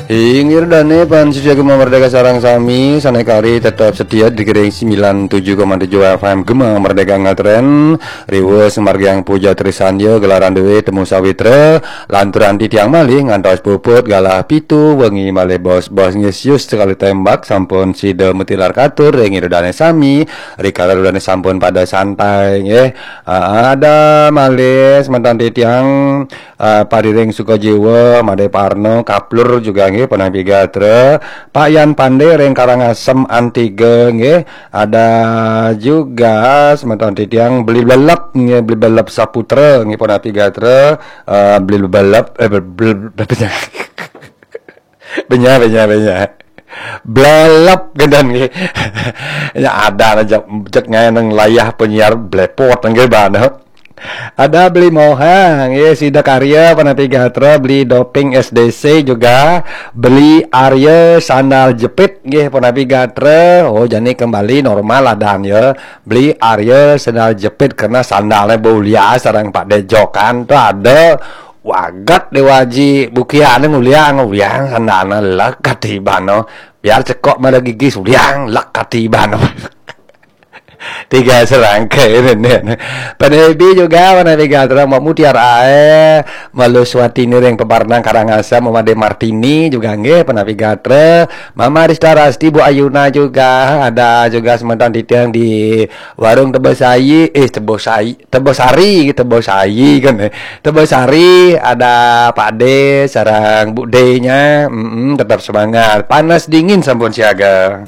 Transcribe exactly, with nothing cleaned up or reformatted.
Inggih dane pan sisia Gema Merdeka sareng sami, sanekari tetep setia dikiring sembilan tujuh koma tujuh F M Gema Merdeka ngetren. Riwes margiang puja trisandia gelaran dewe temu sawitra, lanturan titiang malih ngantos puput galah pitu wengi malih bos-bos nggih sius sekali tembak sampun sida mutilar katur ring ira dane sami, rikala ira dane sampun pada santai nggih. Ah, ada malih semeton titiang, ah, Pariring Sukajiwa, Made Parno, Kaplur juga nggih, punapi gatra. Pak Yan Pande ring Karangasem Antiga nggih. Ada juga semeton titiang Beli Belep nggih, Beli Belep Saputra nggih, punapi gatra. Ah, Beli Belep, eh, Bel-, Bel-, Bel-, Benya, Benya, Benya. Blelep gendan nggih. Ya ada aja jek ngae nang layah penyiar blepot nggih bana. Ada Beli Moha nggih, Sida Karya, punapi gatra, Beli Doping S D C juga, Beli Arya Sandal Jepit nggih, punapi gatra. Oh, jani kembali normal adan ya. Beli Arya Sandal Jepit karena sandalnya bau ulian sareng Pak Dejokan tuh ada. Wagat Dewa Aji bukiane nguliang, nguliang sandalna lek katibano. Biar cekok mada gigis uliang lek katibano. Tiga serangkai ini. Penebi juga mana tiga terang Mbak Mutiara ae, Malu Swatini ring Pebarnang Karangasem, Made Martini juga nggih, penapi gatra, Mama Rista Rasti, Bu Ayuna juga, ada juga semeton titiang di Warung Tebosai, eh, Tebosai, Tebosari, Tebosai kan, eh. Tebosari, ada Pak De, sareng Bu D-nya, mm, tetap semangat. Panas dingin sampun siaga.